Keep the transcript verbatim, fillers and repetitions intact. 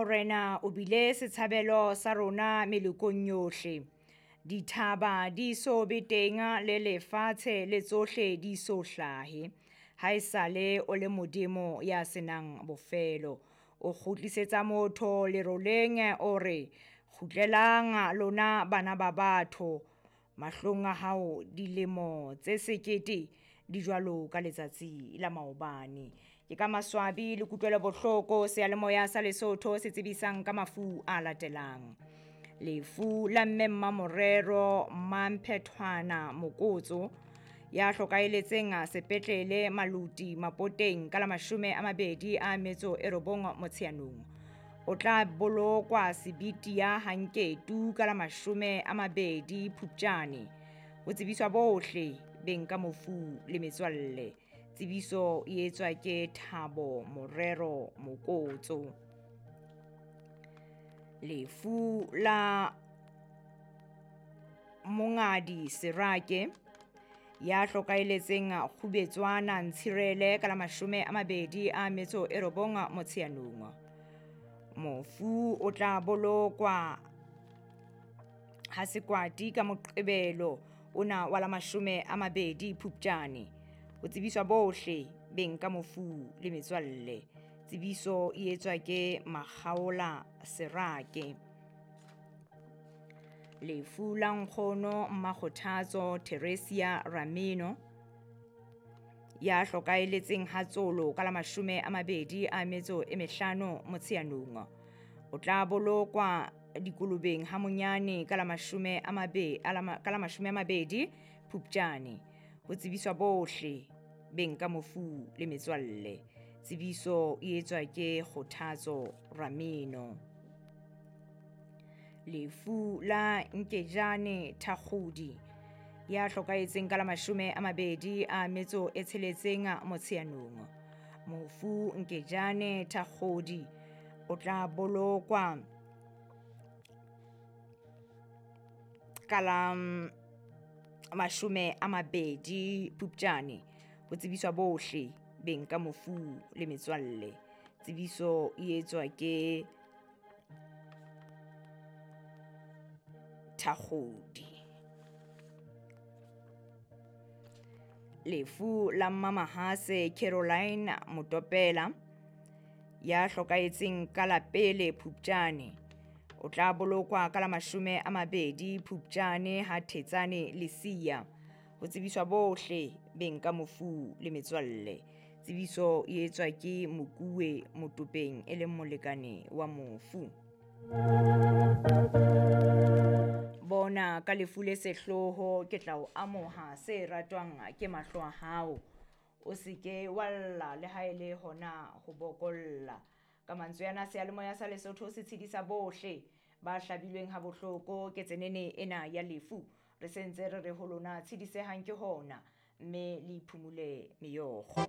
Morena o bile setshabelo sa rona melokong yohle. Dithaba di so be teng le lefatshe le tsohle di so hlahe. Haesale o le Modimo ya senang bofelo. O kgutlisetsa motho leroleng o re, kgutlelang lona bana ba batho. Mahlong a hao dilemo tse sekete di jwalo ka letsatsi la maobane. Ke ka maswabi le kutlwelo bohloko seyalemoya sa Lesotho se tsebisang ka mafu a latelang. Lefu la mme Mmamorero Mmamphethwana Mokotso ya hlokahelletseng sepetlele Maluti Mapoteng ka la mashome a mabedi a metso e robong Motsheanong. O tla bolokwa Sebitia Hanketu ka la mashome a mabedi Phupjane. Ho tsebiswa bohle beng ka mofu le metswalle. Tsebiso e etswa ke Thabo Morero Mokotso. Lefu la Mongadi Serake ya hlokahelletseng Kgubetswana Ntshirele ka la mashome a mabedi a metso e robong Motsheanong. Mofu o tla bolokwa ha Sekwati ka Moqebelo ona wa la mashome a mabedi Phupjane. Ho tsebiswa bohle beng ka mofu le metswalle. Tsebiso e etswa ke Makgaola Serake. Lefu la nkgono Mmakgothatso Theresia Ramino ya hlokahelletseng Hatsolo ka la mashome a mabedi a metso e mehlano Motsheanong. O tla bolokwa Dikolobeng ha Monyane ka la mashome a mabe ka la mashome a mabedi Phupjane. Ho tsebiswa bohle beng ka mofu le metswalle. Tsebiso e etswa ke Kgothatso Ramino. Lefu la Nkejane Thakgodi ya hlokahetseng ka la mashome a mabedi a metso e tsheletseng Motsheanong. Mofu Nkejane Thakgodi o tla bolokwa ka la mashome a mabedi Phupjane. Ho tsebiswa bohle beng ka mofu le metswalle. Tsebiso e etswa ke Thakgodi. Lefu la Mmamahase Caroline Motopela ya hlokahetseng ka la pele Phupjane. O tla bolokwa ka la mashome a mabedi Phupjane ha Thetsane Lesia. Ho tsebiswa bohle beng ka mofu le metswalle. Tsebiso e etswa ke Mokuwe Motopeng e leng molekane wa mofu. Bona ka lefu le sehloho ke tla o amoha se ratwang ke mahlo a hao. O se ke wa lla le ha e le hona ho bokolla. Ka mantswe ana seyalemoya sa Lesotho se tshedisa bohle ba hlabilweng ha bohloko ke tsenene ena ya lefu. Re sentse re re ho lona tshedisehang ke hona mme le iphumule meokgo.